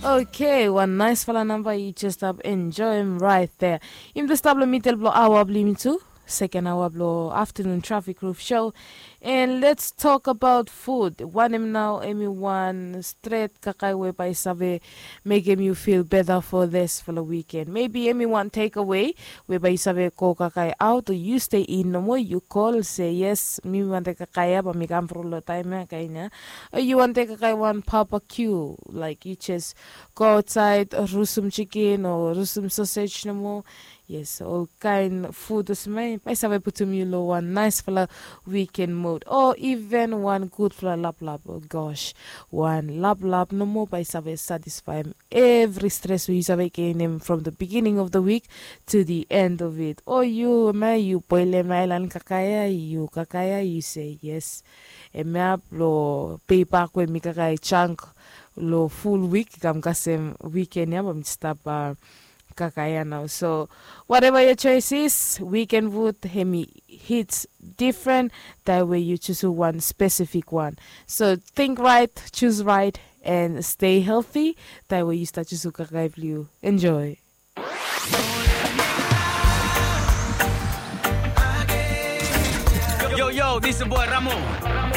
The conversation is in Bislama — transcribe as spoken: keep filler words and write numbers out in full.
Okay, wan naisfala namba yu jes stap enjoim rait dea. Yumi tu stap long midel blong aoa blong yumi tu, seken aoa blong aftanun trafik ruf show. And let's talk about food. Wanem nao em i wan stret kakae we bae i save mekem yu fil beta fo disfala wiken? Maybe em i wan tekawei we bae yu save go kakae aot, o yu stei in nomo, yu kol se yes, mi wante kakae ia, bae mi kam fru long taem ia, kaen ia. O yu wante kakae wan babakiu, laek yu jes go aotsaed, rusum jikin o rusum sosej nomo. Yes, olkaen fud olsem ia bae i save putum yu long wan naesfala wiken mod. O iven wan gudfala laplap. O gos, wan laplap nomo bae i save satisfaem evri stres we yu save genem from the beginning of the week to the end of it. O yu, hemia yu boelem aelan kakae ia, yu kakae ia, yu se yes, hemia blong pei bak we mi kakae jang long ful wik i kam kasem wiken ia bae mi stap kakae ia nao. So whatever your choice is, wiken fud hemi hits difren taem we yu jusum wan spesifik wan. So ting raet, jus raet, and stay healthy taem we yu stap jusum kakae blong yu. Enjoy. Yo, yo, this your boy Ramo.